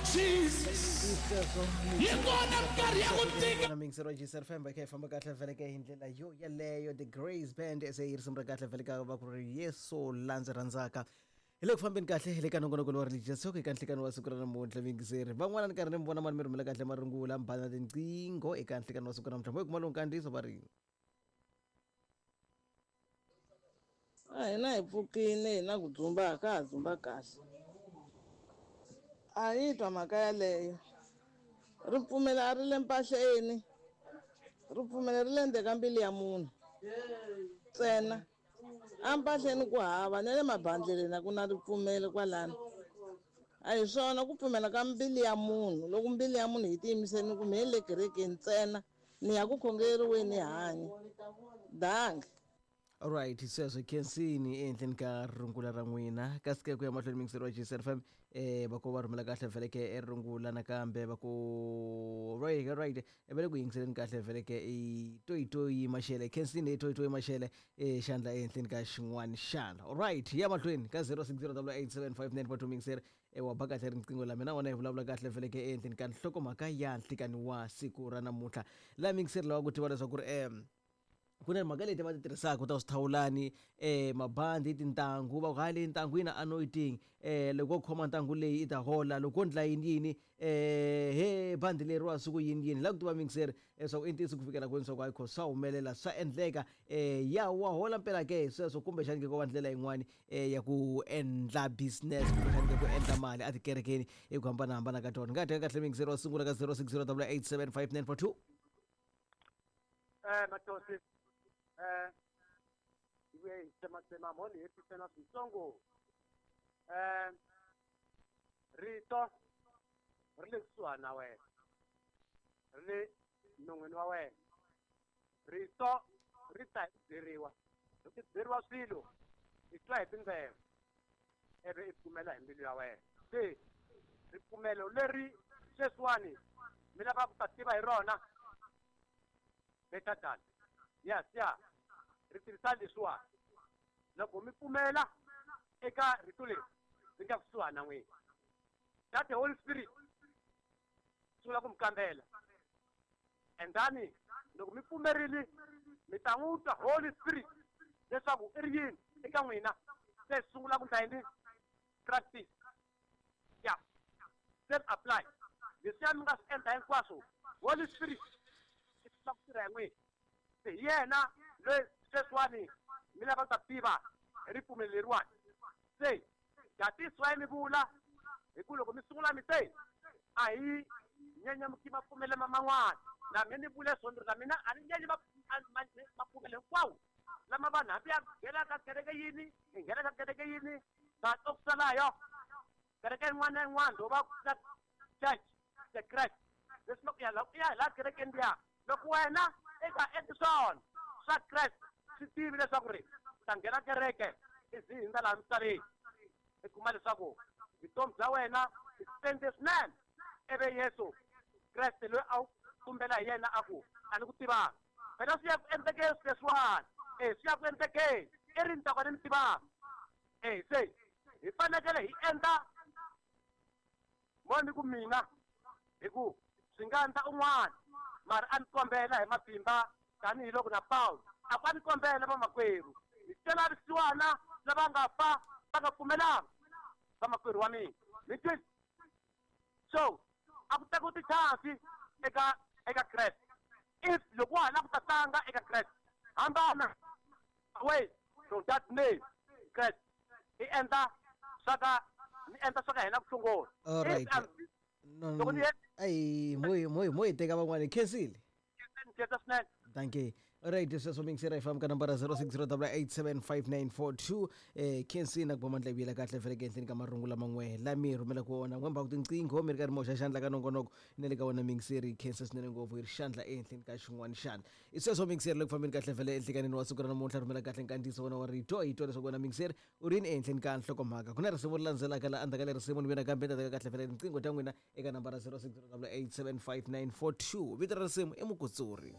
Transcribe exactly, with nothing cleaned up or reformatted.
Jesus. Yi kona minkarhi ya ku tika. Na mixer wa G S F M va kha hi famba kahle vhele ka hi ndlela yo yeleyo. The Grace Band se yi risimu ra kahle vhele ka va ku ri Yesu la ndzi rhandzaka. Hi le ku fambeni kahle hi le ka nongonoko wa Religious Talk eka nhlikani wa siku ra namuntlha. Mingiseri van'wana ni karhi ni mi vona mani mi rhumela kahle marungula, mi bana tinqingho eka nhlikani wa siku ra namuntlha. Mo hi kuma lowu nkandziyiso va ri A hina hi pfukile hi na ku dzumba, ka ha dzumba kahle. A yi twa mhaka yaleyo. Ripfumelo a ri le mpahleni, ripfumelo ri le ndzeni ka mbilu ya munhu ntsena. Empahleni ku hava, na le mabandleleni a ku na ripfumelo kwalano. A hi swona ku pfumela ka mbilu ya munhu. Loko mbilu ya munhu yi tiyimiserile ku mehe le kerekeni ntsena ni ya ku khongeriweni, hanya dangi. Alright, sweswo khensini ehenhleni ka rungula ra n'wina. Kasi ke ku ya mahlweni, mingiseri wa G S F M, eh va ku va rhumela kahle vhele ke e rungula nakambe va ku right right va le ku yingiseleni kahle vhele ke i toyitoyi Mashele. Khensini i toyitoyi Mashele e xandla ehenhleni ka xin'wana xana. Alright, ya mahlweni ka zero six zero eight seven five nine four two. Mingiseri e wa ba kahle riqingho la mina wona hi vulavula kahle vhele ke ehenhleni ka nhlokomhaka ya nhlikani wa siku ra namuntlha. La mingiseri lava ku tiva leswaku ri em ku na mhaka leti va ti tirhisaka ta swithawulani, eh mabandi, tintangu, va ku hayi leyi ntangu yi na anointing, eh loko wo khoma ntangu leyi i ta hola, loko wo ndla yini yini, eh he bandi leriwa siku yini yini. La ku tiva mingiseri leswaku i ntiyiso ku fikela kwini swa ku hayi kho swa humelela, swa endleka, eh ya wa hola mpela ke sweswo, kumbexani ke ko va ndlela yin'wani eh ya ku endla business, kumbexani ke ku endla mali etikerekeni hi ku hambanahambana ka tona. Nga teka kahle mingiseri wa sungula ka zero six zero eight seven five nine four two. Eh Matosi, eh iwe tsematsema mo ni hetisela switsongo. eh rito ri le kusuhani na wena, ri le non'wini wa wena. Rito ri ta hi ku byeriwa. Loko i byeriwa swilo, i twa hi tindleve ivi i pfumela hi mbilu ya wena. Se ripfumelo leri sweswiwani mi lava ku ta tiva hi rona better than yes ya ri tirhisa leswiwani. Loko mi pfumela eka rito leri ri nga kusuhani na n'wina, that the Holy Spirit sungula ku mi kambela, and then loko mi pfumerile mi ta n'wi twa Holy Spirit leswaku i ri yini eka n'wina. Se sungula ku ndla yini? Practice ya self apply leswiya mi nga swi endla hinkwaswo. Holy Spirit i sungula ku tirha hi n'wina. Se hi yena loyi sweswiwani mi lava ku ta tiva hi ripfumelo leriwani. Se that is why mi vula hi ku loko mi sungula mi te a hi nyenya mapfumelo man'wana, na mina ni vule swona ri na mina a ni nyenyi mapfumelo hinkwawo lama vanhu, hambi ya nghena ka kereke yini, hi nghena ka kereke yini, but okusalayo kereke yin'wana na yin'wana lowu va na church the Christ leswi loko ya ya hi laha kerekeni liya, loko wena i nga endli swona swa Christ, swi tivi leswaku ri u ta nghena kereke i zi hindza laha misaveni, i kuma leswaku vutomi bya wena i spende swinene, ivi Yesu Kreste loyi a wu tumbela hi yena a ku a ni ku tivanga. Phela swi ya ku endlekeni sweswiwani, e swi ya ku endlekeni i ri ni ta ka ni mi tivanga. E se hi fanekele hi endla mo ni ku mina hi ku swi nga endla un'wana, mara a ni kombela hi matimba tanihiloko na Pawulo a ku a ni kombela vamakwerhu hi twela vusiwana lava nga fa va nga pfumelanga, vamakwerhu wa mina mi twi. So a ku tekiwi ti-chance eka eka Kreste. If loko wa ha lava ku ta tlanga eka Kreste, hambana away from that name Kreste, i endla swa ka ni endla swa ka hina ku sungula. All right. If I'm- No, Loko ni het- ayi mo mo mo hi teka van'wani. Khensile. Ni khensa swinene. Dankie. Alright, sweswo mingisera hi famba ka nambara zero six zero eight seven five nine four two. eh khensini ku va mandla vuyela kahle vhele ke ehenhleni ka marungu laman'we lami rhumela ku wona n'wemba ku tinqingho mi ri karhi mi hoxa xandla ka nongonoko na le ka wona. Mingiseri, khensa swinene ngopfu. Hi ri xandla ehenhleni ka xin'wana xandla i sweswo. Mingiseri le ku fambeni kahle vhele enhlikanini wa siku ra namuntlha. Rhumela kahle nkandziyiso wona wa rito, hi twa leswaku wena mingiseri u ri yini ehenhleni ka nhlokomhaka. Ku na risimu ri landzelaka la endzhaku ka le risimu ni vena kambe ni ta teka kahle vhele tinqingho ta n'wina eka nambara zero six zero eight seven five nine four two. Vito ra risimu i Mukutsuri.